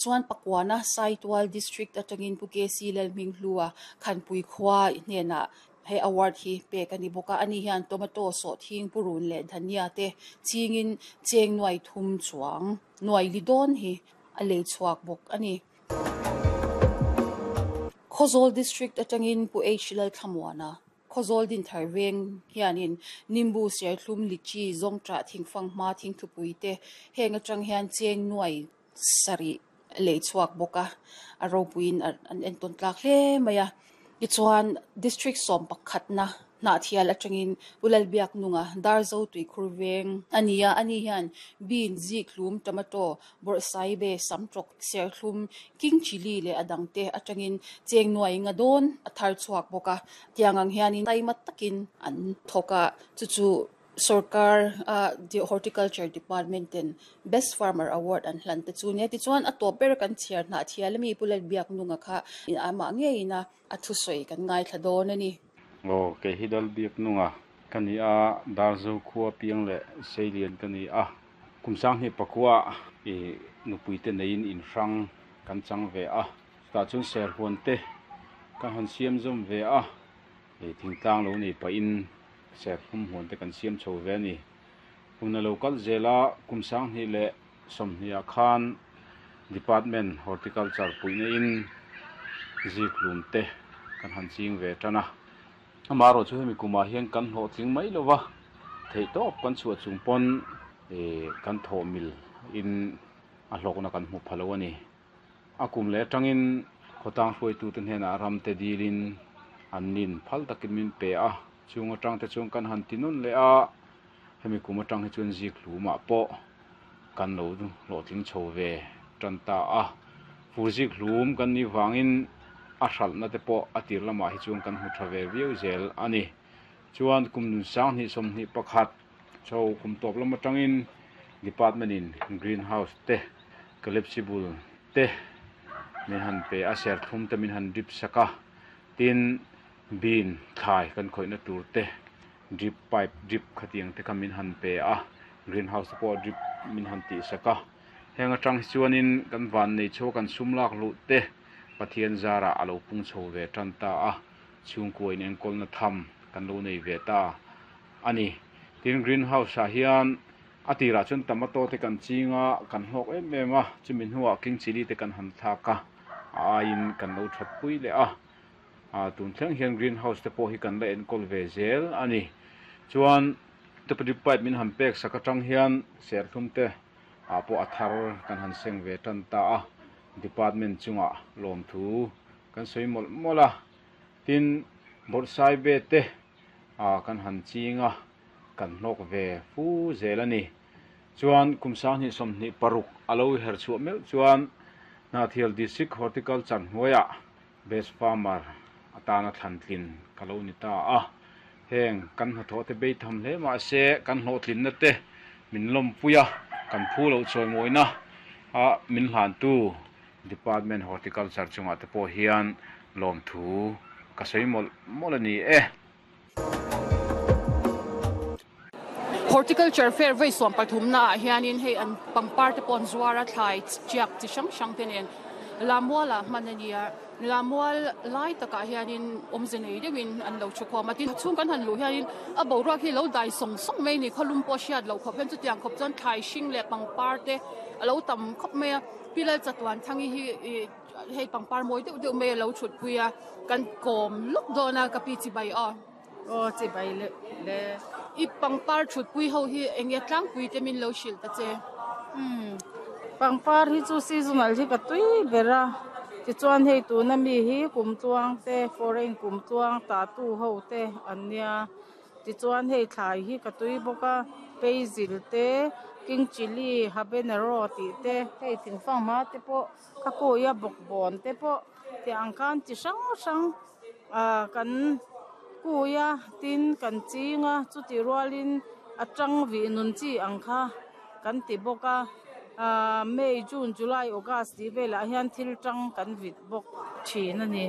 Chuan Pakuana Saitual District atangin Pu KC Lalhminghlua Khanpui khua hnenah he award hi pek a ni bawk a. Ani hian tomato, sawhthing, purun leh dhania te chingin cheng nuai thum chuang nuai li dawn hi a lei chhuak bawk a ni. Khawzawl District atangin Pu H Lalthlamuana Khawzawl Dinthar veng hianin Nimbu, Serthlum, Lichi, Zawngṭah, Thingfanghma, Thingthupui te heng atang hian cheng nuai sarih lei chhuak bawk a, a ropuiin an entawn tlak hle mai a. Tichuan, District sawm pakhatna Hnahthial atangin Pu Lalbiaknunga Darzo Tuikhur veng a ni a, ani hian bean, zikhlum, tomato, Bawrhsaibe, Samtawk, Serthlum, King Chilli leh a dangte atangin cheng nuai nga dawn a thar chhuak bawk a. Tiang ang hianin taima takin an thawk a, chu chu sorkar a Horticulture Department ten Best Farmer Award an hlan te chu nia. Tichuan a tawp ber kan chhiar hnah thial ami Pu Lalbiaknunga kha amah ngeiin a a thusawi kan ngaithla dawn a ni. Aw, kei hi Lalbiaknunga ka ni a, Darzo khua piang leh Seilian ka ni a. Kum sanghnih pakua i nupuite neiin in hrang kan chang ve a, chutah chuan serhuan te kan han siam zawm ve a, i thingtlang lo nei pahin serhlum huan te kan siam chho ve a ni. Hun a lo kal zel a, kum sanghnih leh sawmhnih ah khan Department Horticulture puihna in zikhlum te kan han ching ve tan a. Amaherawh chu hemi kumah hian kan hlawhtling mai lo va, theihtawp kan chhuah chung pawn kan thawh mil in a hlawkna kan hmu pha lo a ni. A kum leh atangin khawtlang hruaitute hnenah ramte dilin an nin phal takin min pe a, chung atangte chuan kan han ti nawn leh a, hemi kum atang hi chuan zik hlumah pawh kan lo hlawhtling chho ve tan ta a. Fur zik hlum kan nih vangin a hralhna te pawh a tir lamah hi chuan kan hmu tha ve viau zel a ni. Chuan kum 20 21 chho kum tawp lam atangin department in green house te collapsible te min han pe a, serthlum te min han drip sak a, tin bean thlai kan khawihna tur te drip pipe drip khatiang te kha min han pe a, green house te pawh drip min han tih sak a, heng atang hi chuanin kan van nei chho kan sum lak luh te Pathian zarah a lo pung chho ve tan ta a, chhungkua in enkawlna tham kan lo nei ve ta a ni. Tin green house ah hian a tirah chuan tomato te kan ching a, kan hlawk em em a, chumi hnuah king chilli te kan han thlak a, a aiin kan lo that pui leh a. Ah tun thleng hian green house te pawh hi kan la enkawl ve zel a ni. Chuan drip pipe min han pek sak atang hian serthlum te ah pawh a thar kan han seng ve tan ta a, department chungah lawmthu kan sawi mawlh mawlh a. Tin bawrhsaibe te ah kan han ching a, kan hlawk ve fu zel a ni. Chuan kum 2026 a lo her chhuah meuh chuan Hnahthial District Horticulture hnuaiah Best Farmer atana thlantlin ka lo ni ta a, heng kan hnathawh te bei tham hle mah se kan hlawhtlinna te min lawmpui a, kan phu loh chawimawina a min hlantu Department Horticulture chungah te pawh hian lawmthu ka sawi mawlh mawlh a ni e. Horticulture fair vawi suam pathumna ah hianin hei an pangpar te pawh an zuar a thlai tiak chi hrang hrang te nen Lamual ah hman a ni a Lamual lai takah hianin awmze nei deuhin an lo thu khawm a tin chhung kan han luh hianin a boruak hi lo dai sawng sawng mai a ni khawlum pawh hriat loh khawp hian chutiang khawp chuan thlai hring leh pangpar te a lo tam khawp mai a Pi Lalchatuanthangi hi ih Hei pangpar mawi deuh deuh mai a lo thut pui a, kan kawm lawk dawn a ka pi chibai aw. Aw chibai le le. I pangpar thut pui ho hi eng nge tlangpui te min lo hrilh ta che. Umm pangpar hi chu seasonal hi ka tui ber a, tichuan hei tuna mi hi kumtluang te foreign kumtluang tatu ho te an nia. Tichuan hei thlai hi ka tui bawk a, basil te, king chilli, habanero tih te, hei thingfang hma te pawh ka kawi a bawkbawn te pawh tih ang khan chi hrang hrang ah kan kui a tin kan ching a chutih rualin a tang vih nun chi ang kha kan ti bawk a ah may june july august tih velah hian thil tang kan vit bawk thin a ni.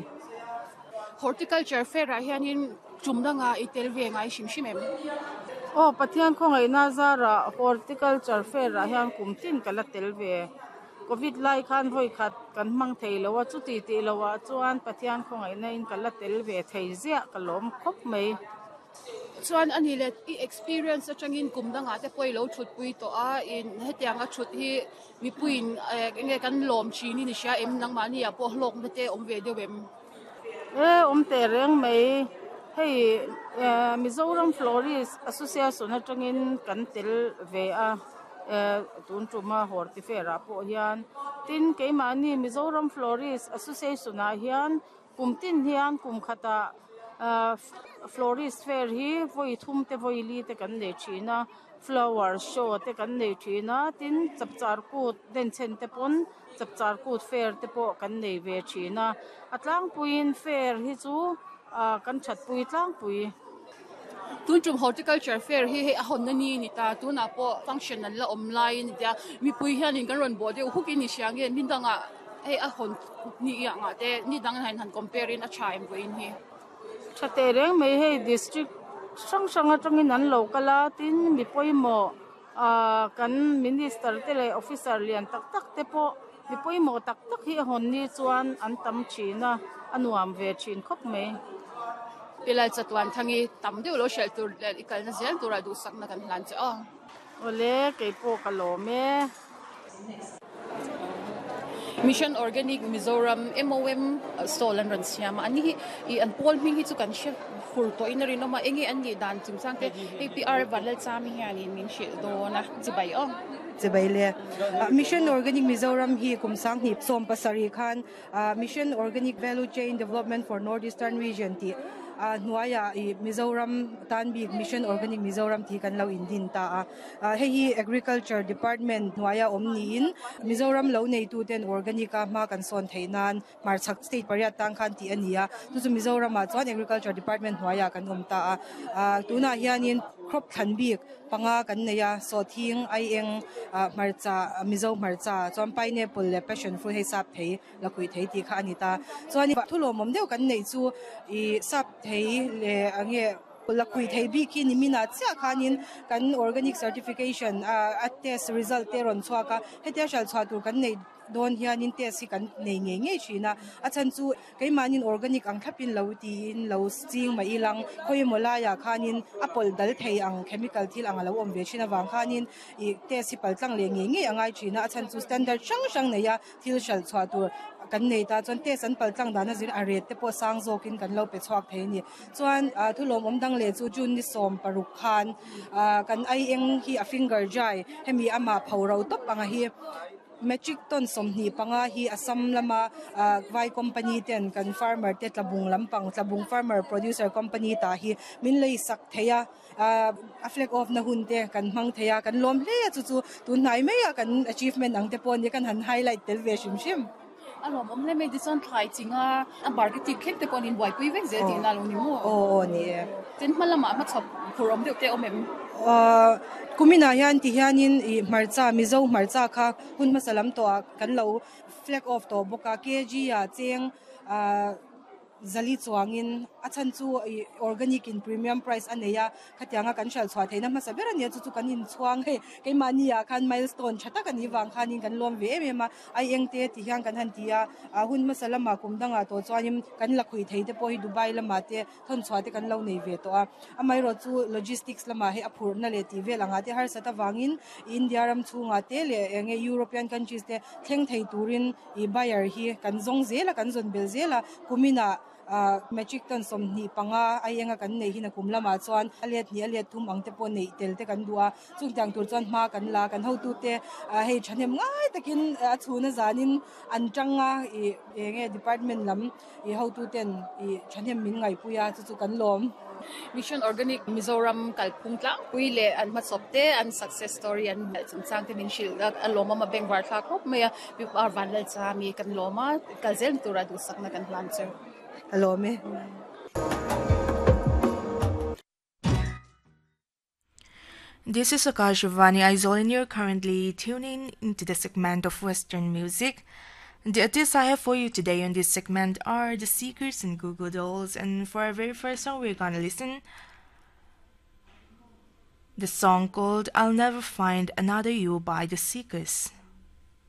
Horticulture fair ah hianin tum danga i tel ve ngai hrim hrim em? Aw Pathian khawngaihna zarah horticulture fair ah hian kum tin ka la tel ve. Covid lai khan vawi khat kan hmang thei lo a, chuti tih loh ah chuan Pathian khawngaihna in ka la tel ve thei ziah ka lawm khawp mai. Chuan a ni le, i experience atangin kum dangah te pawh i lo thutpui tawh a, in hetianga thut hi mipuiin eng nge kan lawm thin i ni hria em? Nangmahni ah pawh hlawkna te awm ve deuh em? E, awm teh reng mai. Hei Mizoram Florist Association atangin kan tel ve a, tun tuma Horti Fair ah pawh hian. Tin, keimahni Mizoram Florist Association ah hian Kum tin hian kum khatah florist fair hi vawi thum te vawi li te kan nei thin a, flower show te kan nei thin a, tin chapchar kut denchhen te pawn chapchar kut fair te pawh kan nei ve thin a, a tlangpuiin fair hi chu ah kan thatpui tlangpui. Tun tum horticulture fair hi hei a hawnna ni a ni ta, tunah pawh function an la awm laiin a tia, mipui hianin kan rawn bawh deuh huk in i hria nge ni dangah hei a hawn ni angah te ni dang hian han compare in a tha em vawiin hi. Tha teh reng mai hei district hrang hrang atangin an lo kal a, tin mi pawimawh ah kan minister te leh officer lian tak tak te pawh mi pawimawh tak tak hi a hawn ni chuan an tam thin a, a nuam ve thin khawp mai. Pilai chatuan thangi tam deuh lo hrelh tur leh i kalna zel turah duhsakna kan hlan che aw. Awle, keipawh ka lawm e. Mission Organic Mizoram, MOM, stall an rawn siam a, ani hi ih an pawl hming hi chu kan hre fur tawhin a rinawm a, enge an nih dan chungchang te hei PR Vanlalchami hianin min hrilh dawn a, chibai aw. Chibai le. Mission Organic Mizoram hi kum sanghnih 70 khan Mission Organic Value Chain Development for North Eastern Region tih hnuaiah ih Mizoram tan bik Mission Organic Mizoram tih kan lo indin ta a. Hei hi Agriculture Department hnuaia awm niin Mizoram lo neituten organic a hma kan sawn theih nan hmarchhak state pariat tang khan tih a ni a. Chu chu Mizoramah chuan Agriculture Department hnuaiah kan awm ta a. Tunah hianin crop thlan bik Panga kan nei a, sawhthing, aieng, hmarcha, Mizo hmarcha, chuan pineapple leh passion fruit hei sap thei, lakhuih thei tih kha a ni ta. Chuan thu lawmawm deuh kan neih chu ih sap thei leh eng nge lakhuih thei bik hi niminah chiah khanin kan organic certification a test result te a rawn chhuak a, hetia hral chhuah tur kan neih dawn hianin test hi kan nei ngei ngei thin a, a chhan chu keimahnin organic ang thlapin lo tiin lo ching mai ilang khawi emaw laiah khanin a pawlh dal thei ang chemical thil ang a lo awm ve thin avang khanin ih test hi pal tlang leh ngei ngei a ngai thin a, a chhan chu standard hrang hrang neia thil hralh chhuah tur kan nei ta chuan test an pal tlang dan a zir a rate te pawh sang zawkin kan lo pe chhuak thei a ni. Chuan ah thu lawmawm dang leh chu June ni 16 khan ah kan ai eng hi a finger dry hemi amah pho ro tawp anga hi. Metric ton 25 hi Assam lama vai company ten kan farmer te Tlabung lampang Tlabung Farmer Producer Company tah hi min lei sak thei a, a flag off na hun te kan hmang thei a, kan lawm hle a chu chu tun hnai mai a kan achievement ang te pawh nia kan han highlight tel ve hrim hrim. A lawmawm hle mai tichuan thlai chinga a marketing thleng te pawh an inbuaipui vek zel tihna a lo ni maw? Aw aw ni e. Tin hma lamah hmachhawp phur awm deuh te a awm em? Kuminah hian ti hianin ih hmarcha Mizo hmarcha kha hun hmasa lam tawhah kan lo flag off tawh bawk a, kg ah cheng ah zali chuangin a chhan chu ih organic in premium price a nei a, khatianga kan hralh chhuah theihna hmasa ber a nia chu chu kan inchhuang hei keimahni ah khan milestone tha tak a nih vang khanin kan lawm ve em em a. Ai eng te ti hian kan han ti a, a hun hmasa lamah kum dangah tawh chuanin kan lakhuih thei te pawh hi Dubai lamah te thawnchhuah te kan lo nei ve tawh a. Amaherawh chu logistics lamah hei a phurhna leh tih vel angah te harsat avangin India ram chhungah te leh eng nge European countries te thleng thei turin ih buyer hi kan zawng zel a, kan zawn belh zel a, kuminah Metric ton 25 ai enga kan neih hin a kum lamah chuan a let hnih a let thum ang te pawh neih tel te kan duh a, chungtiang tur chuan hma kan la, kan hotute hei thahnem ngai takin a chhuna zanin an tang a ih eng nge department lam ih hotuten ih thahnem min ngaihpui a chu chu kan lawm. Mission Organic Mizoram kalphung tlangpui leh an hmachhawp te an success story an melh chungchang te min hrilh a, a lawmawm a bengvar thlak khawp mai a, Pi Vanlalchami kan lawm a. Kal zel tura duhsakna kan hlan chu. A lawm e. This is Akashvani Aizawl and you're currently tuning into the segment of Western music. The artists I have for you today on this segment are The Seekers and Goo Goo Dolls and for our very first song we're gonna listen the song called I'll Never Find Another You by The Seekers.